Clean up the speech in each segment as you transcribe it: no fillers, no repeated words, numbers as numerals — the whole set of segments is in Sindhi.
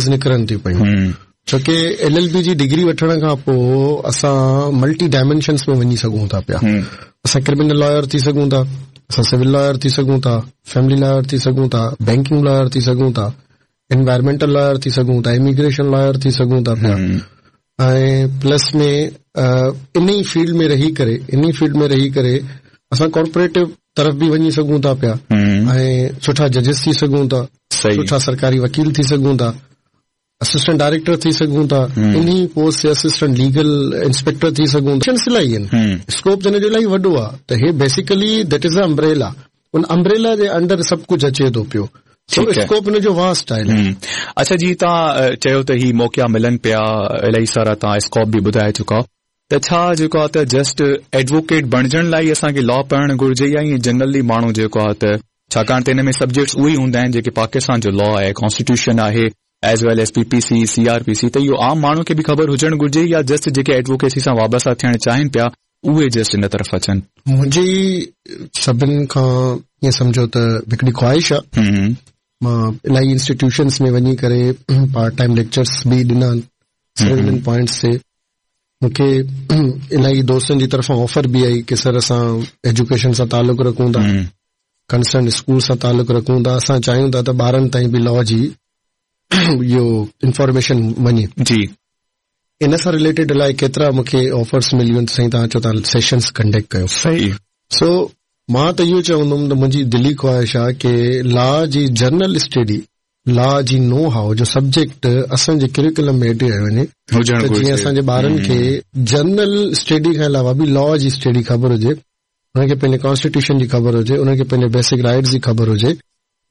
نڪرن ٿيون پيون ڇو ڪي ايل ايل بي جي ڊگري وٺڻ کان پوء اسان ملٽي ڊائمينشنس ۾ وڃي سگهون ٿا پيا اسان ڪرمنل لائر ٿي سگهون ٿا اسان سول لائر ٿي سگهون ٿا فيملي لائر ٿي سگهون ٿا بينڪنگ لائر ٿي سگهون ٿا انوائرمينٽل لائر ٿي سگهون ٿا اميگريشن لائر ٿي سگهون ٿا پيا ۽ پلس ۾ ان ئي فيلڊ ۾ رهي ڪري ان ئي فيلڊ ۾ رهي ڪري اسان ڪارپوريٽو طرف به وڃي سگهون ٿا پيا ۽ سٺا ججز ٿي سگهون ٿا سٺا سرڪاري وڪيل ٿي سگهون ٿا اسسٽنٽ ڊائريڪٽر ٿي سگهون ٿا انهي پوسٽ تي اسسٽنٽ ليگل انسپيڪٽر ٿي سگهون ٿا آپشنس الاهي آهن اسڪوپ ته ان جو الاهي وڏو آهي ته هي basically that is a umbrella an umbrella جي انڊر سڀ ڪجهه اچي ٿو پيو سو اسڪوپ ان جو واسٽ آهي اڇا جي توهان چيو ته هي موقعا ملن پيا الاهي سارا توهان اسڪوپ به ٻڌائي چڪا ته ڇا جيڪو آ ته جسٽ ايڊووڪيٽ بڻجڻ لاء ئي اسان کي لا پڙهڻ گهرجي يا ائين جنرلي ماڻهو جيڪو آ ته ڇاڪاڻ ته ان ۾ سبجيڪٽس اهي ئي هوندا آهن جيڪي پاڪستان جو لا آهي ڪانسٽيٽيوشن آهي as well as P P C C R P C ته اهو عام ماڻهو کي به خبر هجڻ گهرجي يا جسٽ جيڪي ايڊووڪيسي سان وابسته ٿيڻ چاهين پيا اهي جسٽ ان طرف اچن. منهنجي سڀن کان ائين سمجهو ته هڪڙي خواهش آ مان الاهي انسٽيٽيوشنس ۾ وڃي ڪري پارٽ ٽائيم ليڪچرس به ڏنا آهن صرف انهن پوائنٽس تي مون کي الاهي دوستن جي طرفان آفر به آئي ڪي سر اسان ايجوڪيشن سان تعلق رکون ٿا ڪنسرن اسڪول سان تعلق رکون ٿا اسان چاهيون ٿا ته ٻارن تائين به لا جي اهو انفارميشن وڃي جي ان سان رليٽيڊ الائي ڪيترا مون کي آفرس مليون آهن سائين توهان اچو توهان سيشنز ڪنڊڪٽ ڪيو صحيح سو مان ته اهو چوندم ته منهنجي دلي خواهش آهي ڪي لا جي جنرل اسٽڊي لا جي نو هائو جو سبجيڪٽ اسان جي ڪريڪولم ۾ ايڊ ڪيو وڃي ته جيئن اسان جي ٻارن کي جنرل اسٽڊي کان علاوه به لا جي اسٽڊي خبر هجي انهن کي پنهنجي ڪانسٽيٽيوشن جي خبر هجي انهن کي پنهنجي بيسڪ رائٽس جي خبر هجي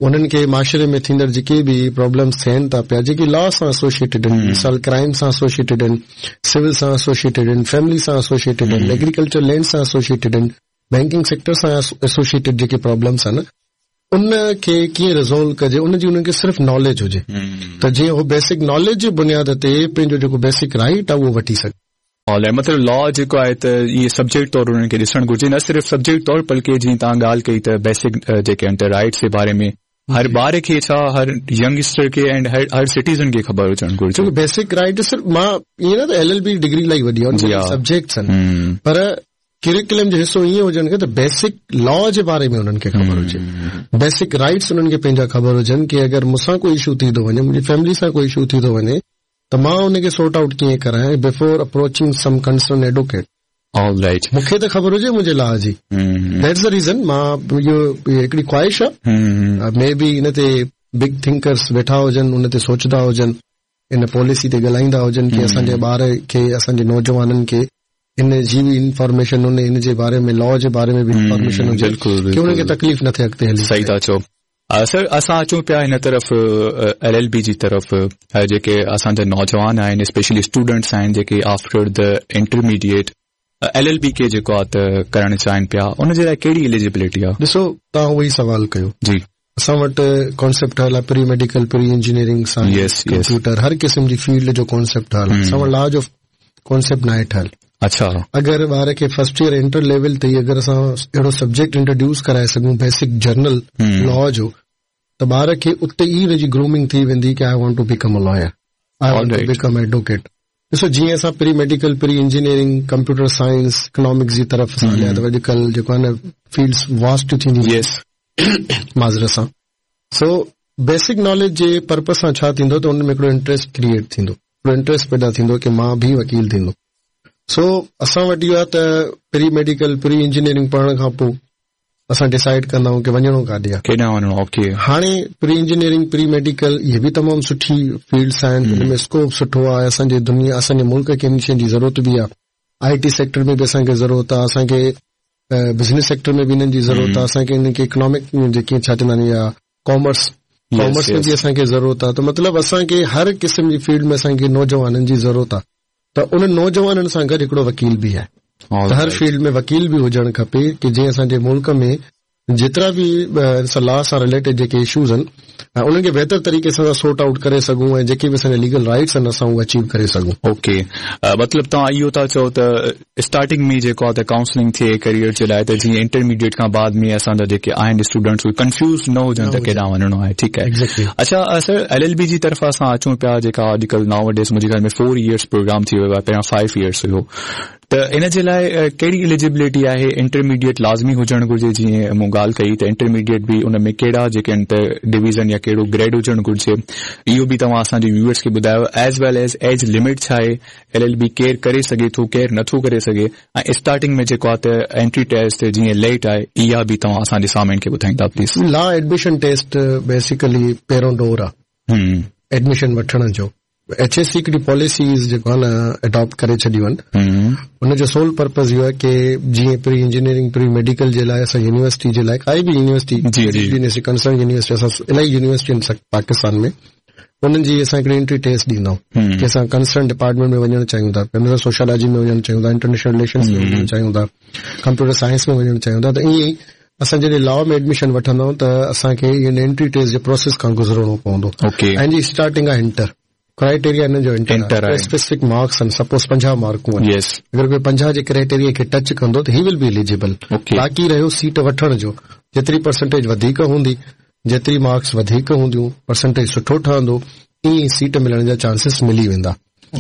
انهن کي معاشري ۾ ٿيندڙ جيڪي به پرابلمس ٿين ٿا پيا جيڪي لا سان ايسوسيئيٽيڊ آهن مثال ڪرائم سان ايسوسيئيٽيڊ آهن سول سان ايسوسيئيٽيڊ آهن فيملي سان ايسوسيئيٽيڊ آهن ايگريڪلچر لينڊ سان ايسوسيئيٽيڊ آهن بينڪنگ سيڪٽر سان ايسوسيئيٽيڊ جيڪي پرابلمس آهن ان کي ڪيئن ريزالو ڪجي ان جي انهن کي صرف ناليج هجي ته جيئن هو بيسڪ ناليج جي بنياد تي پنهنجو جيڪو بيسڪ رائيٽ آهي اهو وٺي سگهي. آل مطلب لا جيڪو آهي ته اهي سبجيڪٽ طور انهن کي ڏسڻ گهرجي نه صرف سبجيڪٽ طور بلڪه جيئن توهان ڳالهه ڪئي ته بيسڪ جيڪي آهن ته رائيٽس جي باري ۾ هر ٻار کي ڇا هر ينگسٽر کي ۽ هر هر سٽيزن کي خبر هجڻ گهرجي. ڇو بيسڪ رائيٽ صرف مان ائين نه ته ايل ايل بي ڊگري الاهي وڏي آهي سبجيڪٽس آهن پر ڪريڪولم جو حصو ائين هجڻ کپي ته بيسڪ لا جي باري ۾ انهن کي خبر هجي بيسڪ رائيٽس انهن کي پنهنجا خبر هجن ڪي اگر مون سان ڪو اشو ٿي ٿو وڃي منهنجي فيملي سان ڪو اشو ٿي ٿو وڃي ته مان ان کي سورٽ آئوٽ ڪيئن ڪرايان before approaching some concern advocate. All right. مون کي ته خبر هجي منهنجي لا جي. That's the reason مان اهو هڪڙي خواهش آ مي بي ان تي بگ ٿنڪرس ويٺا هجن ان تي سوچدا هجن ان پاليسي تي ڳالهائيندا هجن ڪي اسان جي ٻار کي اسان جي نوجوانن کي ان جي به انفارميشن ان جي باري ۾ لا جي باري ۾ به انفارميشن هجي ڪي انهن کي تڪليف نه ٿئي اڳتي هلي. صحيح ٿا چئو. سر اسان اچون پيا هن طرف ايل ايل بي جي طرف جيڪي اسان جا نوجوان آهن اسپيشلي اسٽوڊنٽس آهن جيڪي after the intermediate L L B کي جيڪو آ ته ڪرڻ چاهين پيا ان جي لاء ڪهڙي ايليجبلٽي آ؟ ڏسو توهان اهو ئي سوال ڪيو جي اسان وٽ ڪانسيپٽ ٺهيل آ pre medical pre engineering science computer هر قسم جي فيلڊ جو ڪانسيپٽ ٺهيل آ اسان وٽ لا جو ڪانسيپٽ ناهي ٺهيل. اڇا. اگر ٻار کي فرسٽ ايئر انٽر ليول تي ئي اگر اسان اهڙو سبجيڪٽ انٽروڊيوس ڪرائي سگهون بيسڪ جنرل لا جو ته ٻار کي اتي ئي ان جي گرومنگ ٿي ويندي ڪي I want to become a lawyer I want to become advocate ڏسو جيئن اسان pre medical pre engineering computer science economics جي طرف اسان هليا ته اڄڪلهه جيڪو آهي نه فيلڊس واسٽ ٿينديون يس معذرت سان سو بيسڪ ناليج جي پرپز سان ڇا ٿيندو ته ان ۾ هڪڙو انٽريسٽ ڪريئيٽ ٿيندو هڪڙو انٽريسٽ پيدا ٿيندو ڪي مان به وڪيل ٿيندم سو اسان وٽ اهو آهي ته پري ميڊيڪل پري انجنيئرنگ پڙهڻ کان پوء اسان ڊسائيڊ ڪندا آهيون ڪي وڃڻو ڪاڏي آهي ڪيڏانهن وڃڻو اوڪي هاڻي پري انجنيئرنگ پري ميڊيڪل اهي به تمام سٺي فيلڊس آهن ان ۾ اسڪوپ سٺو آهي اسان جي دنيا اسان جي ملڪ کي ان شين جي ضرورت به آهي آء ٽي سيڪٽر ۾ به اسان کي ضرورت آهي اسان کي بزنس سيڪٽر ۾ به انهن جي ضرورت آهي اسان کي انهن کي اڪنامڪ جيڪي ڇا چوندا آهن يا ڪامرس ڪامرس ۾ به اسان کي ضرورت آهي ته مطلب اسان کي هر قسم جي فيلڊ ۾ اسان کي نوجوانن جي ضرورت آهي ته انهن نوجوانن سان گڏ هڪڙو وڪيل به آهي ته هر فيلڊ ۾ وڪيل به هجڻ کپي ڪي جيئن اسان جي ملڪ ۾ جيترا به لا سان رليٽيڊ جيڪي اشوز آهن انهن کي بهتر طريقي سان سورٽ آئوٽ ڪري سگهون ۽ جيڪي به اسان جا ليگل رائٽس آهن اسان اهي اچيو ڪري سگهون. اوڪي مطلب توهان اهو ٿا چئو ته اسٽارٽنگ ۾ جيڪو آهي ته ڪائونسلنگ ٿئي ڪيريئر جي لاء ته جيئن انٽرميڊيٽ کان بعد ۾ اسان جا جيڪي آهن اسٽوڊنٽس اهي ڪنفيوز نه هجن ته ڪيڏانهن وڃڻو آهي ٺيڪ آهي اڇا سر ايل ايل بي جي طرف اسان اچون پيا جيڪا اڄڪلهه ناو ڊيز منهنجي خيال ۾ 4 ايئرس پروگرام ٿي ويو آهي پهريان 5 ايئرس هيو ته ان جي لاء ڪهڙي اليجبلٽي آهي انٽرميڊيٽ لازمي هجڻ گهرجي جيئن مون ڳالهه ڪئي ته انٽرميڊيٽ به ان ۾ ڪهڙا جيڪي آهن ته ڊويزن يا ڪهڙو گريڊ هجڻ گهرجي اهو به توهان اسان جي ويوئرس کي ٻڌايو as well as age limit ڇا آهي ايل ايل بي ڪير ڪري سگهي ٿو ڪير نٿو ڪري سگهي ۽ اسٽارٽنگ ۾ جيڪو آهي ته انٽري ٽيسٽ جيئن ليٽ آهي اها به توهان اسان جي سامعين کي ٻڌائيندا please. La admission test basically پهريون ڊور آهي ايڊميشن وٺڻ جو ايڇ اي سي هڪڙي پاليسيز جيڪو آهي نه اڊاپٽ ڪري ڇڏيون آهن ان جو سول پرپز اهو آهي ڪي جيئن پري انجنيئرنگ پري ميڊيڪل جي لاء اسان يونيورسٽي جي لاء ڪائي به يونيورسٽي جي جي يونيورسٽي ڪنسرن يونيورسٽي اسان الاهي يونيورسٽيون آهن پاڪستان ۾ انهن جي اسان هڪڙي انٽري ٽيسٽ ڏيندا آهيون ڪي اسان ڪنسرن ڊپارٽمينٽ ۾ وڃڻ چاهيون ٿا پيا مثال سوشيالاجي ۾ وڃڻ چاهيون ٿا انٽرنيشنل رليشنز ۾ وڃڻ چاهيون ٿا ڪمپيوٽر سائنس ۾ وڃڻ چاهيون ٿا ته ائين ئي اسان جڏهن لا ۾ ايڊميشن وٺندا آهيون ته اسان کي ان انٽري ٽيسٽ جي پروسيس کان گذرڻو پوندو ۽ جي اسٽارٽنگ آهي انٽر ڪرائيٽيريا انهن جو انٽر آهي اسپيسفڪ مارڪس آهن سپوز 50 مارڪون آهن اگر ڪوئي 50 جي ڪرائيٽيريا کي ٽچ ڪندو ته هي will be eligible باقي رهيو سيٽ وٺڻ جو جيتري پرسنٽيج وڌيڪ هوندي جيتري مارڪس وڌيڪ هونديون پرسنٽيج سٺو ٺهندو ائين سيٽ ملڻ جا چانسز ملي ويندا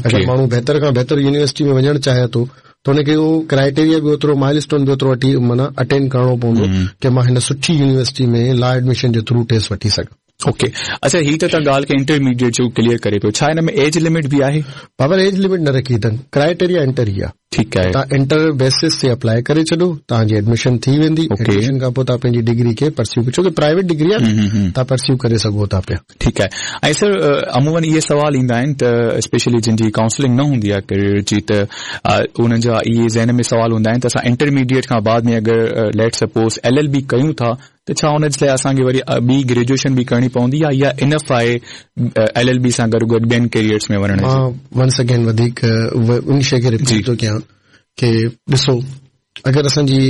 اگر ماڻهو بهتر کان بهتر يونيورسٽي ۾ وڃڻ چاهي ٿو ته ان کي اهو ڪرائيٽيريا به اوترو مائل اسٽون به اوترو اٽي معنيٰ اٽينڊ ڪرڻو پوندو ڪي مان هن سٺي يونيورسٽي ۾ لا ايڊميشن جي ٿرو ٽيسٽ وٺي سگهان. اوڪي اڇا هي ته توهان ڳالهه ڪئي انٽرميڊيٽ جو ڪليئر ڪري پيو ڇا هن ۾ ايج لمٽ به آهي؟ بابر ايج لمٽ نه رکي اٿن ڪرائيٽيريا انٽر ئي آهي. ٺيڪ آهي. توهان انٽر بيسس تي اپلائي ڪري ڇڏو توهان جي ايڊميشن ٿي ويندي ايڊميشن کان پوء توهان پنهنجي ڊگري کي پرسيو ڇو ڪي پرائيويٽ ڊگري آهي نه توهان پرسيو ڪري سگهو ٿا پيا. ٺيڪ آهي ۽ سر عمومن اهي سوال ايندا آهن ته اسپيشلي جن جي ڪائونسلنگ نه هوندي آهي ڪريئر جي ته انهن جا اهي ذهن ۾ سوال هوندا آهن ته اسان انٽرميڊيٽ کان بعد ۾ اگر let suppose L L B ڪيون ٿا ته ڇا ان جي لاء اسان کي وري ٻي گريجوئيشن به ڪرڻي پوندي يا اها انف آهي ايل ايل بي سان گڏ گڏ ٻين ڪيريئرز ۾ وڃڻ جي؟ مان ونس اگين وڌيڪ ان شيء کي رپيٽ ٿو ڪيان ڪي ڏسو اگر اسان جي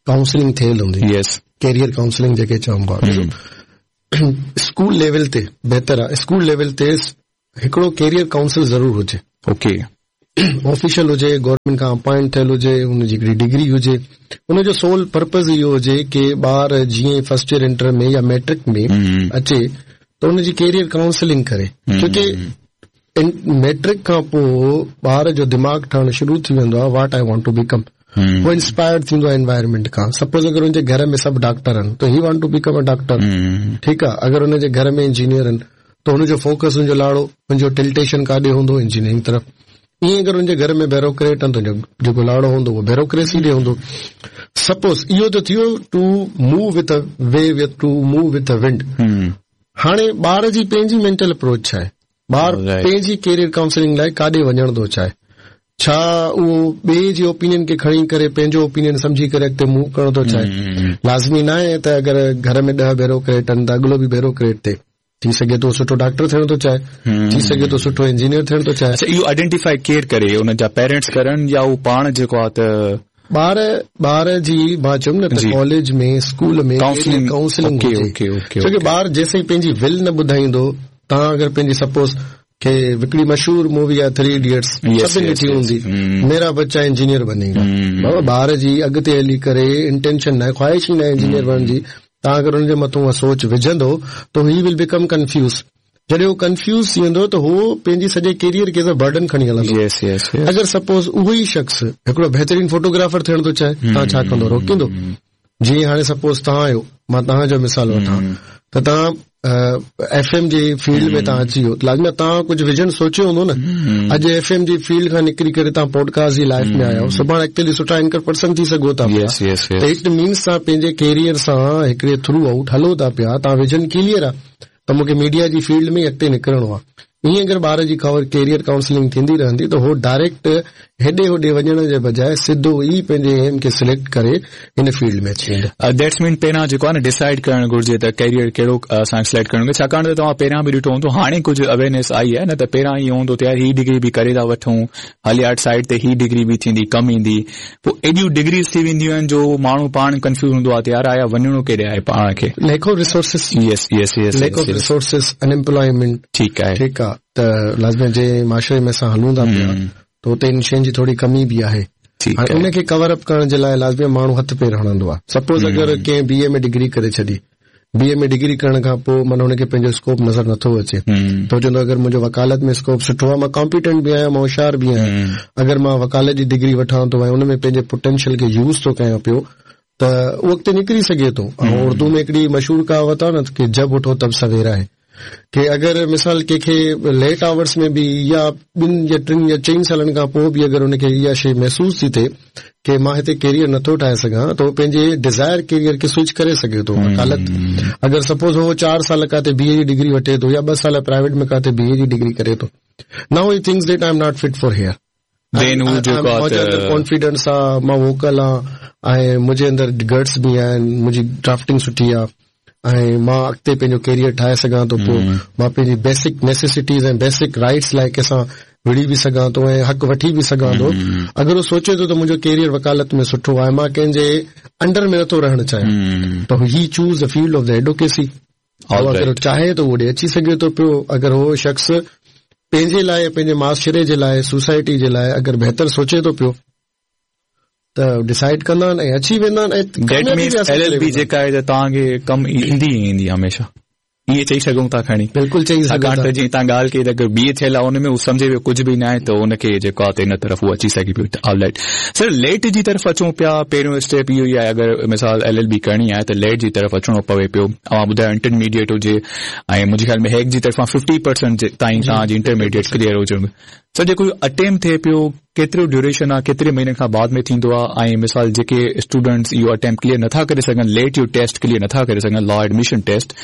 ڪائونسلنگ ٿيل هوندي يس ڪيريئر ڪائونسلنگ جيڪي چئون پيا اسڪول ليول تي بهتر آهي اسڪول ليول تي هڪڙو ڪيريئر ڪائونسل ضرور هجي. اوڪي. آفيشل هجي، گورنمينٽ کان اپائنٽ ٿيل هجي، ان جي هڪڙي ڊگري هجي. ان جو سول پرپز اهو هجي ڪي ٻار جيئن ئي فرسٽ ايئر انٽر ۾ يا ميٽرڪ ۾ اچي ته ان جي ڪيريئر ڪائونسلنگ ڪري. ڇو ڪي ميٽرڪ کان پوء ٻار جو دماغ ٺهڻ شروع ٿي ويندو آهي what I want to become. هو انسپائرڊ ٿيندو آهي انوائرمينٽ کان سپوز اگر ان جي گهر ۾ سڀ ڊاڪٽر آهن ته he want to become a doctor ٺيڪ آهي اگر ان جي گهر ۾ انجنيئر آهن ته هن جو فوڪس هن جو لاڙو هن جو ٽلٽيشن ڪاڏي هوندو انجنيئرنگ طرف ائين اگر هن جي گهر ۾ بيروڪريٽ آهن ته جيڪو لاڙو هوندو اهو بيروڪريسي ڏي هوندو سپوز اهو ته ٿيو to move with way with to move with wind هاڻي ٻار جي پنهنجي مينٽل اپروچ ڇا آهي ٻار پنهنجي ڪيريئر ڪائونسلنگ لاء ڪاڏي وڃڻ ٿو چاهي؟ ڇا اهو ٻئي جي اوپينين کي کڻي ڪري پنهنجو اوپينين سمجهي ڪري اڳتي موو ڪرڻ ٿو چاهي؟ لازمي ناهي ته اگر گهر ۾ ڏهه بيروڪريٽ آهن ته اڳلو به بيروڪريٽ ٿئي. ٿي سگهي ٿو سٺو ڊاڪٽر ٿيڻ ٿو چاهي، ٿي سگهي ٿو سٺو انجنيئر ٿيڻ ٿو چاهي. اڇا اهو آئيڊينٽيفائي ڪير ڪري؟ انهن جا پيرنٽس ڪرن يا هو پاڻ جيڪو آهي ته. ٻار ٻار جي مان چيم نه ته ڪاليج ۾ اسڪول ۾ ڪائونسلنگ ڪائونسلنگ هجي ڇو ڪي ٻار جيسين پنهنجي ول نه ٻڌائيندو توهان اگر پنهنجي سپوز ڪي هڪڙي مشهور مووي آهي ٿري ايڊيٽس سڀني ڏٺي هوندي ميرا بچا انجنيئر بني گا بابا ٻار جي اڳتي هلي ڪري انٽينشن ناهي خواهش ئي ناهي انجنيئر بڻڻ جي توهان اگر ان جي مٿون اها سوچ وجهندو ته هي ول بيڪم ڪنفيوز جڏهن هو ڪنفيوز ٿي ويندو ته هو پنهنجي سڄي ڪيريئر کي ايز ا برڊن کڻي هلندو. Yes, yes, yes. اگر سپوز اهو ئي شخص هڪڙو بهترين فوٽوگرافر ٿيڻ ٿو چاهي توهان ڇا ڪندو روڪيندو؟ جيئن هاڻي سپوز توهان آهيو مان توهان جو مثال وٺان ته توهان ايف ايم جي فيلڊ ۾ توهان اچي ويو لازمي آهي توهان ڪجهه ويزن سوچيو هوندو نه اڄ ايف ايم جي فيلڊ کان نڪري ڪري توهان پوڊڪاسٽ جي لائف ۾ آيا آهيو سڀاڻي اڳتي هلي سٺا اينڪر پرسن ٿي سگهو ٿا پيا ته it means توهان پنهنجي ڪيريئر سان هڪڙي ٿرو آئوٽ هلو ٿا پيا توهان ويزن ڪليئر آهي ته مون کي ميڊيا جي فيلڊ ۾ ئي اڳتي نڪرڻو آهي. ائين اگر ٻار جي ڪيريئر ڪائونسلنگ ٿيندي رهندي ته هو ڊائريڪٽ هيڏي هوڏي وڃڻ جي بجاء سڌو ئي پنهنجي ايم کي سليڪٽ ڪري هن فيلڊ ۾ اچي ويندا. That's مين پهريان جيڪو آهي نه ڊسائيڊ ڪرڻ گهرجي ته ڪيريئر ڪهڙو اسان کي سليڪٽ ڪرڻ گهرجي ڇاڪاڻ ته توهان پهريان به ڏٺو هوندو هاڻي ڪجهه اويرنيس آئي آهي نه ته پهريان اهو هوندو ته يار هي ڊگري به ڪري ٿا وٺون هل يار سائيڊ تي هي ڊگري به ٿيندي ڪم ايندي پوء ايڏيون ڊگريز ٿي وينديون آهن جو ماڻهو پاڻ ڪنفيوز هوندو آهي ته يار آيا وڃڻو ڪيڏي آهي پاڻ کي. Lack of resources yes yes yes lack of resources in employment ٺيڪ آهي ٺيڪ آهي ته لازمي جنهن معاشري ۾ اسان هلون ٿا پيا ته اتي ان شين جي ٿوري ڪمي به آهي هاڻي ان کي ڪور اپ ڪرڻ جي لاء لازمي ماڻهو هٿ پير هڻندو آهي سپوز اگر ڪنهن بي اي ۾ ڊگري ڪري ڇڏي بي اي ۾ ڊگري ڪرڻ کان پوء معنيٰ هن کي پنهنجو اسڪوپ نظر نٿو اچي ته هو چوندو اگر منهنجو وڪالت ۾ اسڪوپ سٺو آهي مان ڪامپيٽنٽ به آهيان مان هوشيار به آهيان اگر مان وڪالت جي ڊگري وٺان ٿو ۽ ان ۾ پنهنجي پوٽينشل کي يوز ٿو ڪيان پيو ته اهو اڳتي نڪري سگهي ٿو ۽ اردو ۾ هڪڙي مشهور ڪهاوت آهي نه ڪي جب اٺو تب سويرا هي ڪي اگر مثال ڪنهن کي ليٽ آورس ۾ به يا ٻن يا ٽن يا چئن سالن کان پوء به اگر ان کي اها شيء محسوس ٿي ٿئي ڪي مان هتي ڪيريئر نٿو ٺاهي سگهان ته هو پنهنجي ڊزائر ڪيريئر کي سوئچ ڪري سگهي ٿو وڪالت اگر سپوز هو چار سال ڪاٿي بي اي جي ڊگري وٺي ٿو يا ٻه سال پرائيويٽ ۾ ڪاٿي بي اي جي ڊگري ڪري ٿو now he thinks that I am not fit for here then هو جيڪو آ ته ڪانفيڊنس آ مان ووڪل آ ۽ منهنجي اندر گٽس به آهن منهنجي ڊرافٽنگ سٺي آ ۽ مان اڳتي پنهنجو ڪيريئر ٺاهي سگهان ٿو پيو مان پنهنجي بيسڪ نيسيسٽيز ۽ بيسڪ رائٽس لاء ڪنهن سان وڙهي به سگهان ٿو ۽ حق وٺي به سگهان ٿو اگر هو سوچي ٿو ته منهنجو ڪيريئر وڪالت ۾ سٺو آهي مان ڪنهن جي انڊر ۾ نٿو رهڻ چاهيان ته he choose the field of the advocacy هو اگر چاهي ته هوڏي اچي سگهي ٿو پيو اگر هو شخص پنهنجي لاء پنهنجي معاشري جي لاء سوسائٽي جي لاء اگر بهتر سوچي ٿو پيو ته ڊسائيڊ ڪندا آهن ۽ اچي ويندا آهن ۽ that means L L B جيڪا آهي ته توهان کي ڪم ايندي ئي ايندي هميشه ائين چئي سگهون ٿا کڻي بلڪل چئي سگهون ڇاڪاڻ ته جيئن توهان ڳالهه ڪئي ته اگر بي اي ٿيل آهي ان ۾ هو سمجهي ويو ڪجهه به ناهي ته ان کي جيڪو آهي ته ان طرف هو اچي سگهي پيو آل رائيٽ سر ليٽ جي طرف اچون پيا پهريون اسٽيپ اهو ئي آهي اگر مثال ايل ايل بي ڪرڻي آهي ته ليٽ جي طرف اچڻو پوي پيو اوهان ٻڌايو انٽرميڊيٽ هجي ۽ منهنجي خيال ۾ هيڪ جي طرفان ففٽي پرسنٽ تائين توهان جي انٽرميڊيٽ ڪليئر هجڻ سر جيڪو اٽيمپٽ ٿئي پيو ڪيترو ڊيوريشن آهي ڪيتري مهينن کان بعد ۾ ٿيندو آهي ۽ مثال جيڪي اسٽوڊنٽس اهو اٽيمپٽ ڪليئر نٿا ڪري سگهن ليٽ جو ٽيسٽ ڪليئر نٿا ڪري سگهن لا ايڊميشن ٽيسٽ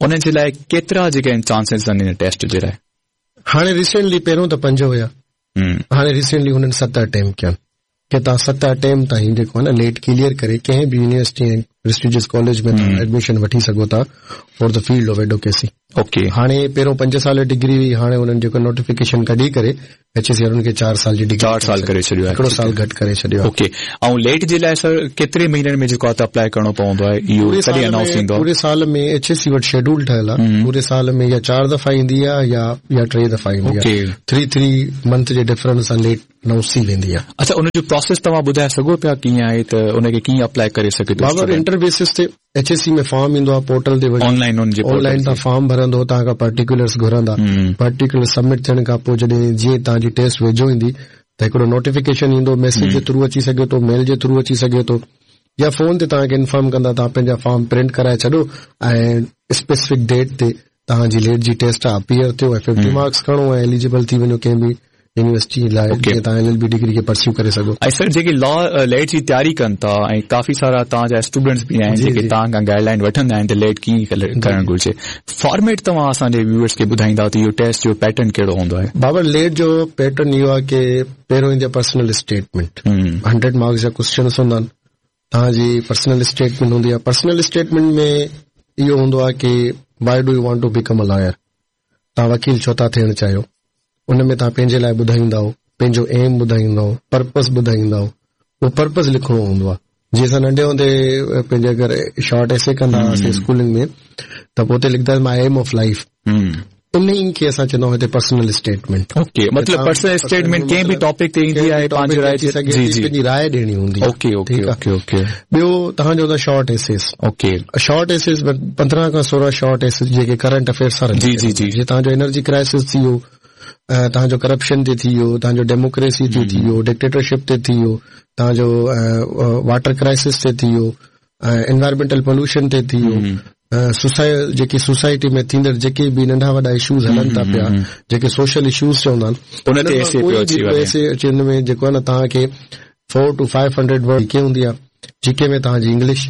انهن جي لاء ڪيترا جيڪي آهن چانسز آهن ان ٽيسٽ جي لاء هاڻي ريسينٽلي پهريون ته پنج هيا هاڻي ريسينٽلي هنن ست اٽيمپٽ ڪيا ڪي توهان ست اٽيمپٽ تائين جيڪو آهي نه ليٽ ڪليئر ڪري ڪنهن به يونيورسٽي ۽ پريسٽيجس ڪاليج ۾ توهان ايڊميشن وٺي سگهو ٿا for the field of advocacy okay هاڻي پهريون پنج سال ڊگري هئي هاڻي انهن جيڪو نوٽيفڪيشن ڪڍي ڪري ايڇ اي سي وارن کي چار سال جي ڊگري چار سال ڪري ڇڏيو آهي هڪڙو سال گهٽ ڪري ڇڏيو آهي اوڪي ۽ ليٽ جي لاء سر ڪيتري مهينن ۾ جيڪو آهي ته اپلائي ڪرڻو پوندو آهي اهو ڪڏهن انائونس ٿيندو آهي پوري سال ۾ ايڇ اي سي وٽ شيڊول ٺهيل آهي پوري سال ۾ يا چار دفعا ايندي آهي يا يا ٽي دفعا ايندي آهي ٿري ٿري منٿ جي ڊفرنس سان ليٽ انائونس ٿي ويندي آهي. اڇا ان جو پراسيس توهان ٻڌائي سگهو پيا ڪيئن آهي ته ان کي ڪيئن اپلائي ڪري سگهي ٿو بابر انٽر بيسس تي ايڇ اي سي ۾ فارم ايندو آهي پورٽل تي وڃي آن لائن ان جي آن لائن تان فارم ڀرندو توهان کان پرٽيڪولرس گهرندا پرٽيڪولر سبمٽ ٿيڻ کان پوء جڏهن جيئن توهان جي ٽيسٽ ويجهو ايندي ته هڪڙو نوٽيفڪيشن ايندو ميسيج جي ٿرو اچي سگهي ٿو ميل جي ٿرو اچي سگهي ٿو يا فون تي توهان کي انفارم ڪندا توهان پنهنجا فارم پرنٽ ڪرائي ڇڏو ۽ اسپيسفڪ ڊيٽ تي توهان جي ليٽ جي ٽيسٽ آ اپيئر ٿيو ۽ 50 مارڪس کڻو ۽ ايليجبل ٿي وڃو ڪنهن به يونيورسٽي لاء جيئن توهان ايل ايل بي ڊگري کي پرسيو ڪري سگهو. ۽ سر جيڪي لا ليٽ جي تياري ڪن ٿا ۽ ڪافي سارا توهان جا اسٽوڊنٽس به آهن جيڪي توهان کان گائيڊ لائين وٺندا آهن ته ليٽ ڪيئن ڪرڻ گهرجي فارميٽ توهان اسان جي ويوئرس کي ٻڌائيندا ته اهو ٽيسٽ جو پيٽرن ڪهڙو هوندو آهي. بابر ليٽ جو پيٽرن اهو آهي ڪي پهريون ايندي آهي پرسنل اسٽيٽمينٽ 100 مارڪس جا ڪوسچنس هوندا آهن توهان جي پرسنل اسٽيٽمينٽ هوندي آهي پرسنل اسٽيٽمينٽ ۾ اهو هوندو آهي ڪي why do you want to become a lawyer توهان وڪيل ڇو ٿا ٿيڻ چاهيو ان ۾ توهان پنهنجي لاء ٻڌائيندائو پنهنجو ايم ٻڌائيندائو پرپس ٻڌائيندائو اهو پرپس لکڻو هوندو آهي جيئن اسان ننڍي هوندي پنهنجي اگر شارٽ ايسي ڪندا هئاسين اسڪولن ۾ ته پوء اتي لکندا my M of life انهي کي اسان چوندا آهيون هتي پرسنل اسٽيٽمينٽ. اوڪي مطلب پرسنل اسٽيٽمينٽ ڪنهن به ٽاپڪ تي ايندي آهي پنهنجي راء ٿي سگهي ٿي پنهنجي راء ڏيڻي هوندي آهي اوڪي اوڪي اوڪي اوڪي ٻيو توهان جو short essays okay short essays 15 کان 16 شارٽ ايسيز جيڪي ڪرنٽ افيئرس سان جي جي جي جي توهان جو انرجي ڪرائسس ٿي ويو توهان جو ڪرپشن تي ٿي ويو توهان جو ڊيموڪريسي تي ٿي ويو ڊڪٽيٽرشپ تي ٿي ويو توهان جو واٽر ڪرائسس تي ٿي ويو انوائرمينٽل پوليوشن تي ٿي ويو جيڪي سوسائٽي ۾ ٿيندڙ جيڪي به ننڍا وڏا اشوز هلن ٿا پيا جيڪي سوشل اشوز چوندا آهن ان تي ايسي پيو اچي وڃي ايسي اچي ان ۾ جيڪو آهي نه توهان کي 4 ٽو 500 ورڊ جي ڪي هوندي آهي جي ڪي ۾ توهان جي انگلش